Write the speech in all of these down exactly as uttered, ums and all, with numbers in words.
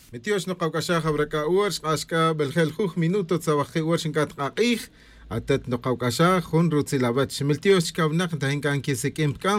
Miltiox nokawc'axaj awra c'a uor xk'ax c'a beljel juj minuto tzawaj ki uor xinc'at k'ak'ij. Atet nokawc'axaj jun rutzil awech miltiox chicawnak ntajin c'a nquisiq'uin pc'a.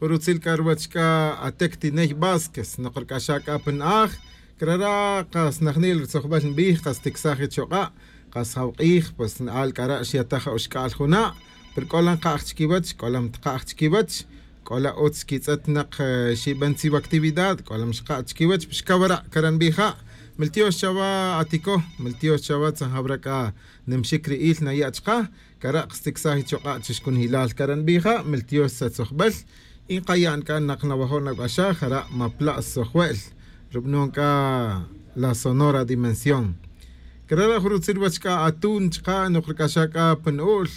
Jun rutzil c'a ruwech c'a atec tiney vásquez nokrc'axaj c'a pa na'aj. Crara' kas najnil rutzojbel nbij kas ticsaj ichok'a'. Kas jawk'ij pues na'al c'ara' xyataj oxc'al juna'. Pero c'ola nkaj chiquiwech c'ola mtkaj chiquiwech. C'ola utz quitz'et nak xiben tziwa actividad c'ola mxkaj chiquiwech pues cawara' cara' nbija'. Miltiox chawa aticoj miltiox chawa tzajawra c'a nimxic ri'il naya' chka. Cara' ksticsaj ichok'a' chixcunjilal cara' nbija' miltiox tzatzojbel. Y nkaya'n c'a nak nawajo' nac'axaj jara' mapla' stzojwe'l. Rub'non c'a la sonora dimensión. Crara' jun rutzil wach c'a atun chka' nokrc'axaj c'a pa nu'ul.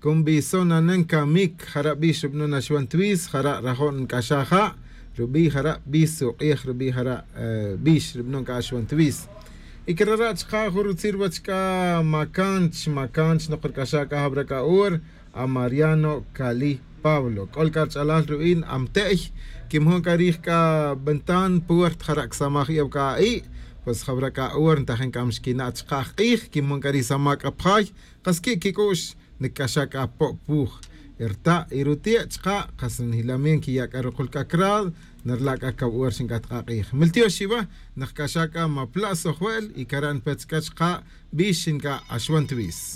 Con bisonanen camic jara' bix rub'non axwan twis jara' rajo' nc'axaj ja'. Rubi' jara' bis uk'ij rubi' jara' bix rub'non c'a axwan twis. Y crara' chka' jun rutzil wach c'a macanch macanch nokrc'axaj c'a jawra c'a hor. A mariano cali pablo c'ol c'a rch'alal ru'in amte'y. Quimojun c'a rij c'a ventan puerta jara' csamaj iyaw c'a a'i'. Pues jawra c'a hor ntajin c'a mxquina' chka' jk'ij quimojun c'a rij samac'a pjay. Kas qui' quic'u'x nc'axaj c'a po' puj. Rta' y ruti' chka' kas njilamiento quiya' c'a rukul c'a crado. Nrla' c'a cawor xinc'at k'ak'ij miltiox chiwa. Nkc'axaj c'a mapla' sojwe'l y cara' npetz c'a chka' bix xinc'a' axwan twis.